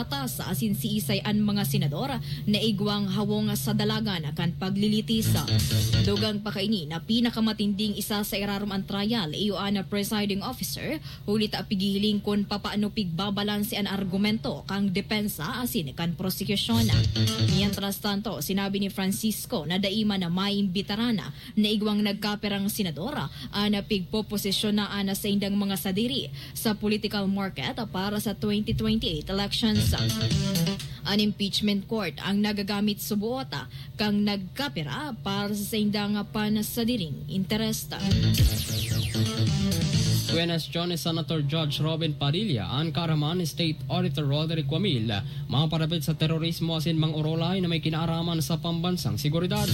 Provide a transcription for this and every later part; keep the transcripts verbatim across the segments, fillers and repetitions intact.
patas asin siisay an mga senador na igwang hawong sa dalagan kan paglilitis. Dugang pa kaini na pinakamatinding isa sa irarom an trial iyo an presiding officer, huli ta pighihiling kun papaano pigbabalanse an argumento kan depensa asin kan prosekusyon. Mientras tanto, sinabi ni Francisco na dai man na maimbitaran na igwang nagkapirang senador an pigpoposisyon na sa indang mga sadiri sa political market para sa twenty twenty-eight elections. An impeachment court ang nagagamit suboot kang nagkapira para sa saindang pansadiring interes. Kwenestyon ni Senator Judge Robin Padilla an kaaraman ni State Auditor Roderick Wamil maparapit sa terorismo asin mga orolay na may kinaaraman sa pambansang seguridad.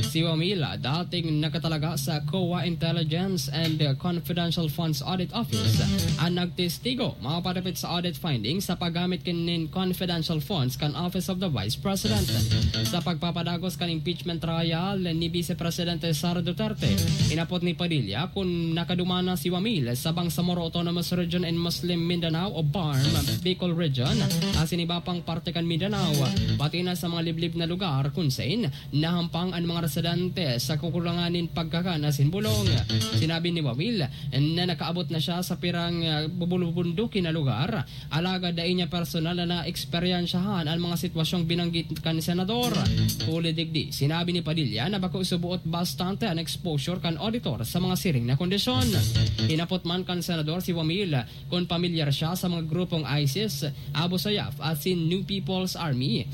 Si Wamil, dating nakatalaga sa COA Intelligence and Confidential Funds Audit Office, ang nagtestigo maparapit sa audit findings sa paggamit nin confidential funds kan Office of the Vice President. Sa pagpapadagos kan impeachment trial ni Vice Presidente Sara Duterte, inapot ni Padilla kun nakaduman na si Wamil sa Bangsamoro Autonomous Region in Muslim Mindanao o BARMM, Bicol Region, asin iba pang parte kan Mindanao, pati na sa mga liblib na lugar kun sain nahampang an mga residente sa kakulangan nin pagkakan asin bulong. Sinabi ni Wamil na nakaabot na siya sa pirang, ah, bubulubunduki na lugar, alagad dai niya personal na naeksperyensyahan an mga sitwasyong binanggit kan senador. Huli digdi, sinabi ni Padilla na bako suboot bastante an exposure kan auditor sa mga siring na kondisyon. Hinapot man kan senador si Wamil kun pamilyar siya sa mga grupong ISIS, Abu Sayyaf asin New People's Army.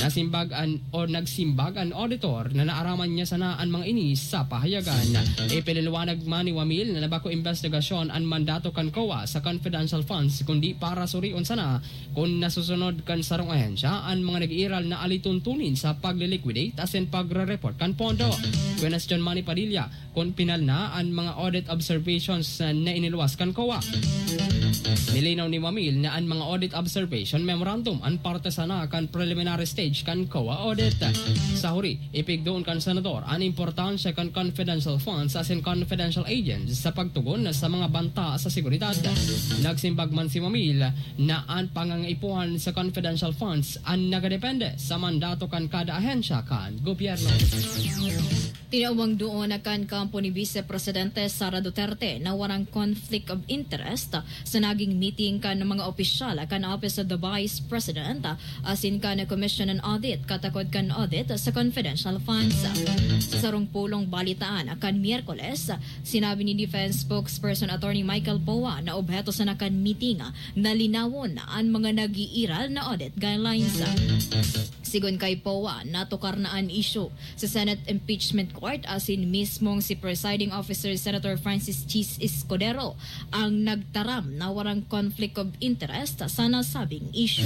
Nasimbag an, o nagsimbag an auditor na naaraman niya sana an mga ini sa pahayagan. Ipinaliwanag man ni Wamil na bako imbestigasyon an mandato kan COA sa confidential funds, kundi para surion sana kun nasusunod kan sarong ahensya an mga nag-iiral na alituntunin sa pagle-liquidate asin pagre-report kan pondo. Kwenestyon man ni Padilla kun pinal na an mga audit observations na iniluwas kan COA. Nilinaw ni Wamil na an mga audit observation memorandum an parte sana kan preliminary stage kan COA audit. Sa huri, ipigdoon kan senador an importansya kan confidential funds asin confidential agents sa pagtugon sa mga banta sa seguridad. Nagsimbag man si Wamil na an pangangaipuhan sa confidential funds an nagadepende sa mandato kan kada ahensya kan gobyerno. Tinawang duon na kan kampo ni Vice Presidente Sara Duterte na warang conflict of interest sa naging meeting kan mga opisyal kan Office of the Vice President asin kan Commission on Audit katakod kan audit sa confidential funds. Sa sarong pulong balitaan kan Miyerkules, sinabi ni Defense Spokesperson Attorney Michael Poa na obheto sana kan meeting na linawon an mga nag-iiral na audit guidelines. Sigon kay Poa, natukar na an isyu sa Senate Impeachment Court asin mismong si Presiding Officer Senator Francis Chiz Escudero ang nagtaram na warang conflict of interest sa nasabing isyu.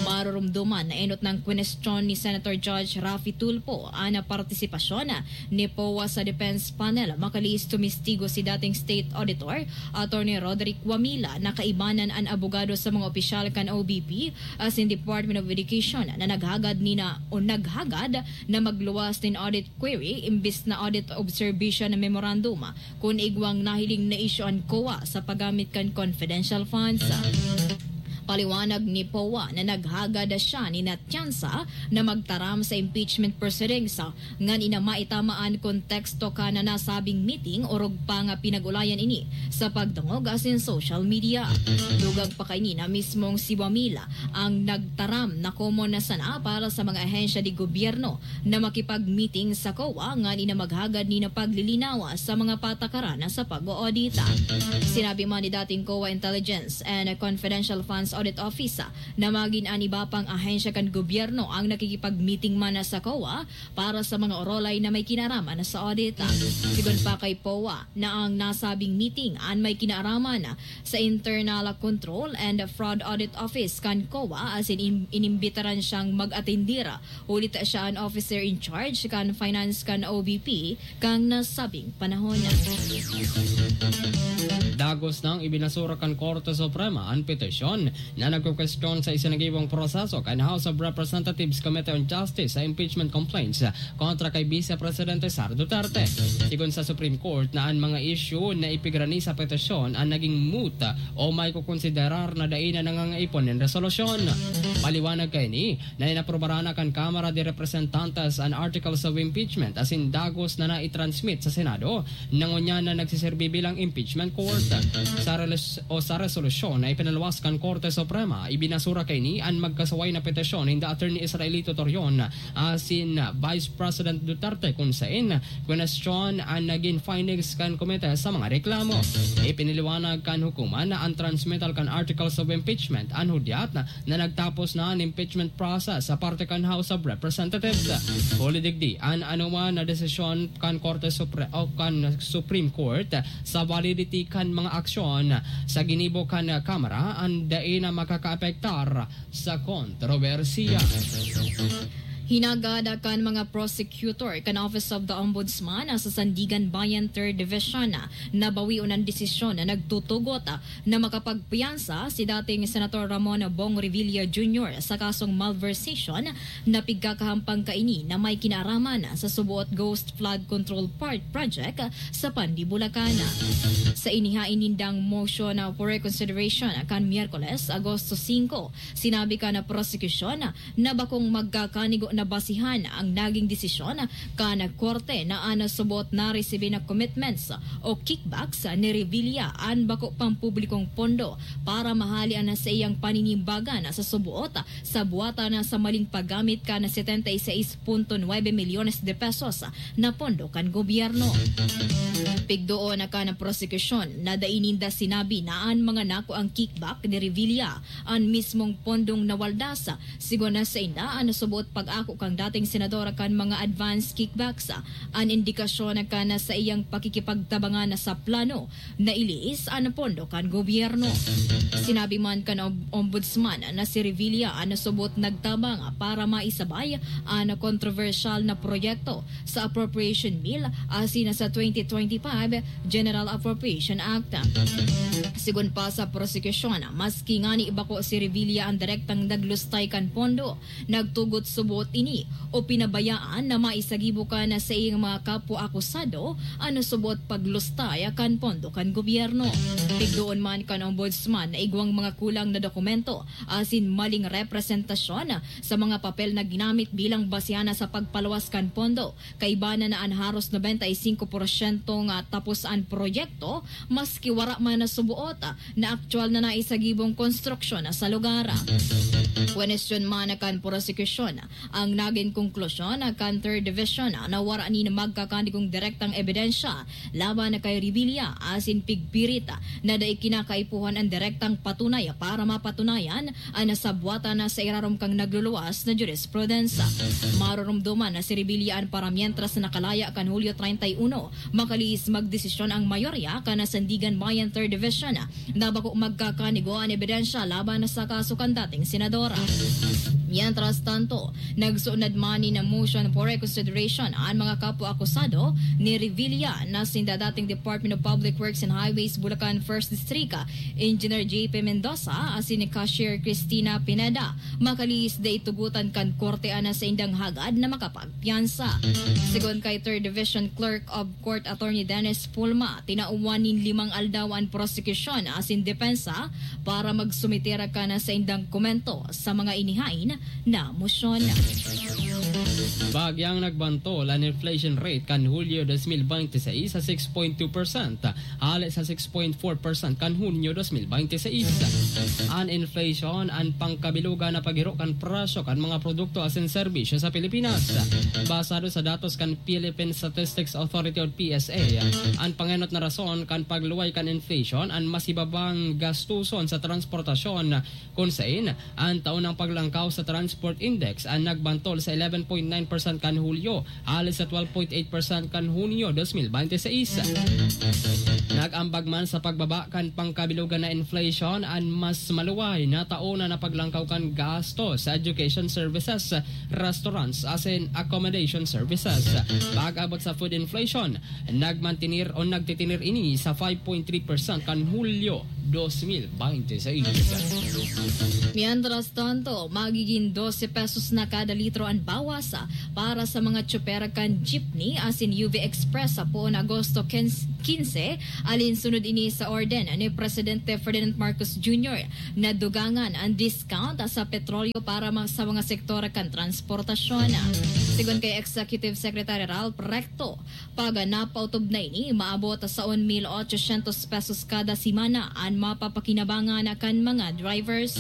Marurumduman na enot nang kwenestyon ni Senator Judge Raffy Tulfo an partisipasyon ni Poa sa defense panel. Makalihis tumistigo si dating State Auditor Attorney Roderick Wamila na kaibanan an abogado sa mga opisyal kan O B P asin Department of Education na naghagad nina o naghagad na magluwas nin audit query imbis na audit observation memorandum kun igwang nahiling na isyu an COA sa paggamit kan confidential funds. Paliwanag ni Poa na naghagad siya nin tyansa na magtaram sa impeachment proceedings ngan ina maitama an konteksto kan nasabing meeting, orog pa nga pinag-ulayan ini sa pagdangog asin social media. Dugang pa kaini na mismong si Wamila ang nagtaram na komon na sana para sa mga ahensya de gobyerno na makipag-meeting sa COA ngan ina maghagad nin paglilinaw sa mga patakaran sa pag-oodita. Sinabi man ni dating COA Intelligence and Confidential Funds Audit Office na magin an iba pang ahensya kan gobyerno ang nakikipag-meeting man sa COA para sa mga orolay na may kinaraman sa audit. Sigon pa kay Poa na ang nasabing meeting an may kinaraman sa Internal Control and Fraud Audit Office kan COA asin in- inimbitaran siyang mag-atendir, huli ta siya an officer in charge kan finance kan O B P kan nasabing panahon. Dagos nang ibinasura kan Korte Suprema an petisyon na nagkukwestiyon sa isinagibong proseso kan House of Representatives Committee on Justice sa impeachment complaints kontra kay Vice Presidente Sara Duterte. Sigon sa Supreme Court na an mga issue na ipigurani sa petisyon an naging moot o may kukonsiderar na dai na nangangaipon nin resolusyon. Paliwanag kaini na inaprobaran na kan Kamara de Representantes an Articles of Impeachment asin dagos na naitransmit sa Senado na ngunyan na nagsiserbi bilang impeachment court. Sa reles-, o sa resolusyon na ipinaluwas kan Korte Suprema, ibinasura kaini an magkasuway na petisyon ninda Attorney Israelito Torion asin Vice President Duterte, kun saen kwenestyon an nagin findings kan komite sa mga reklamo. Ipinaliwanag kan hukuman na an transmittal kan Articles of Impeachment an hudyat na nagtapos na an impeachment process sa parte kan House of Representatives. Huli digdi, an anoman na desisyon kan Korte Supre-, o kan Supreme Court sa validity kan mga aksyon sa ginibo kan Kamara an dai na makakaapektar sa kontrobersiya. Hinagad kan mga prosecutor kan Office of the Ombudsman sa Sandiganbayan Third Division na bawion an desisyon na nagtutugot na makapagpiyansa si dating Senator Ramon Bong Revilla Junior sa kasong malversation na pigkakahampang kaini na may kinaaraman sa suboot Ghost Flood Control Part Project sa Pandi, Bulacan. Sa inihain nindang motion for reconsideration kan Miyerkules, Agosto singko, sinabi kan prosekusyon na bakong magkakanigo na basihan ang naging desisyon kan korte na an suboot na resibi na commitments o kickbacks ni Revilla an bako pang publikong pondo para mahali an saiyang paninimbagan sa suboot sa buwatan sa maling paggamit kan setenta y seis punto nuebe milyones de pesos na pondo kan gobyerno. Pigdoon kan prosekusyon na dai ninda sinabi na an mga nakuang kickback ni Revilla an mismong pondong nawaldas. Sigon na sainda, an suboot pag-ako kan dating senador kan mga advance kickbacks, an indikasyon kan saiyang pakikipagtabangan sa plano na iliis an pondo kan gobyerno. Sinabi man kan Om-, Ombudsman na si Revilla an suboot nagtabang para maisabay an kontrobersyal na proyekto sa Appropriation Bill asin sa twenty twenty-five General Appropriation Act. Sigon pa sa prosekusyon, maski ngani bako si Revilla an direktang naglustay kan pondo, nagtugot suboot ini o pinabayaan na maisagibo kan saiyang mga kapwa akusado an suboot paglustay kan pondo kan gobyerno. Pigdoon man kan Ombudsman na igwang mga kulang na dokumento asin maling representasyon sa mga papel na ginamit bilang basehan sa pagpaluwas kan pondo. Kaiba na na an haros nobenta y singko porsyento nga tapos an proyekto, maski wara man na suboot na aktual na naisagibong konstruksyon sa lugar. Kwenestyon man kan prosekusyon ang nagin konklusyon kan Third Division na wara nin magkakanigong direktang ebidensya laban kay Revilla asin pigpirit na dai kinakaipuhan an direktang patunay para mapatunayan an nasabwatan na sa irarom kan nagluluwas na jurisprudensya. Maroromdoman na si Revilla an paramientras na nakalaya kan Hulyo treinta y uno, makalihis magdesisyon ang mayorya kan Sandiganbayan Third Division na bako magkakanigo an ebidensya laban sa kaso kan dating senadora. Mientras tanto, nagsuunad man nin motion for reconsideration an mga kapwa akusado ni Revilla na sinda dating Department of Public Works and Highways Bulacan First District Engineer J P Mendoza asin ni Cashier Cristina Pineda. Makalihis dai tugutan kan korte an saindang hagad na makapagpiyansa. Sigon kay Third Division Clerk of Court Attorney Dennis Pulma, tinauwan nin limang aldaw an prosekusyon asin depensa para magsumiter kan saindang komento sa mga inihain na mosyon. Bagyang nagbantol an inflation rate kan Hulyo dos mil bente seis sa six point two percent, hale sa six point four percent kan Hunyo dos mil bente seis. An inflation, an pangkabilugan na paghiro kan presyo kan mga produkto asin serbisyo sa Pilipinas. Basado sa datos kan Philippine Statistics Authority o P S A, an pangenot na rason kan pagluway kan inflation an mas hibabang gastuson sa transportasyon, kun sain an taonang paglangkaw sa Transport Index an nagbantol sa eleven point nine percent kan Hulyo, hale sa twelve point eight percent kan Hunyo dos mil bente seis. Nag-ambag man sa pagbaba kan pangkabilugan na inflation an mas maluway na taon na paglangkaw kan gasto sa education services, restaurants, asin accommodation services. Pag-abot sa food inflation, nagmantinir o nagtitinir ini sa five point three percent kan Hulyo Dos mil bainte sa Iglesia. Mientras tanto, magiging dose pesos na kada litro an bawas para sa mga tsoper kan jeepney asin U V Express sa poon Agosto quince, alin sunod ini sa orden ni Presidente Ferdinand Marcos Junior na dugangan ang discount sa petrolyo para ma-, sa mga sektor kan transportasyon. Sigon kay Executive Secretary Ralph Recto, pag napaotob na ini, maabot sa un mil ochocientos pesos kada semana an mapapakinabangan kan mga drivers.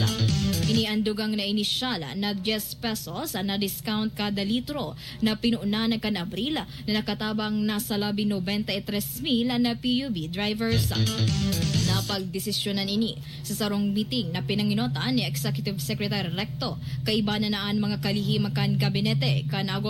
Ini ang dugang na inisyal na diyes pesos na discount kada litro na pinunan kan Abril na nakatabang na sa labi nobenta y tres mil na P U V drivers. Napagdesisyonan ini sa sarong meeting na pinanginotan ni Executive Secretary Recto kaiba na na an mga kalihim kan gabinete kan